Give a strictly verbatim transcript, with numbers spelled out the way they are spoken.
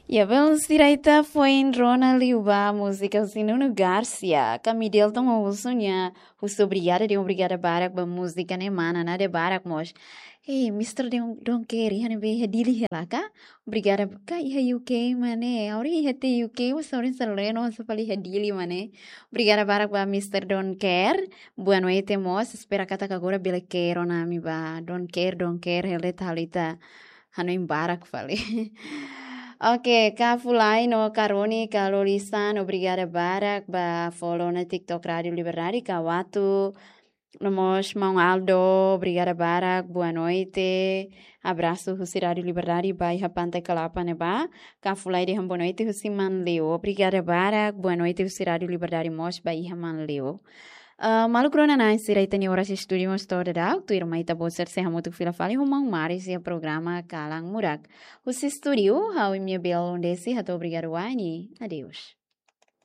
Ya, belun sira, ita foin rona liu ba múzika husi Nuno Garcia. Ka Midelton Osunha husu obrigada de'it, obrigada barak ba múzika ne'e, mana nada barak mós. Hey, mister Don, Don Kerry, iha ne'ebé, iha Dili hela ka? Obrigada, ka iha U K mak ne'e? Ha'u dehan iha tiha U K, mas ha'u dehan selalu no sa fali iha Dili mak ne'e. Obrigada barak ba mister Don Kerry. Boa noite mós. Espera katak agora bele Kerry ona ami ba. Don Kerry, Don Kerry, hela de'it halo ita hanoin barak fali. Oke, ka Fulai no Karoni, ka Lolisan, obrigada barak ba follow ona TikTok Rádio Liberdade, ka Watu, no mós maun Aldo, obrigada barak, boa noite. Abrasu husi Rádio Liberdade ba iha Pantai Kalapa ne'ebá. Ka Fulai dehan boa noite husi Manleu. Obrigada barak, boa noite husi Rádio Liberdade mós ba iha Manleu. Ah, maluk rona-na'in sira, ita-nia oras estúdiu mós to'o daudaun, tuirmai ita-boot sira sei hamutuk fila fali ho maun Maris iha programa Kalan Murak. Husi estúdiu, ha'u Mia Bel Londesi, hato'o obrigadu wa'in. Adeus.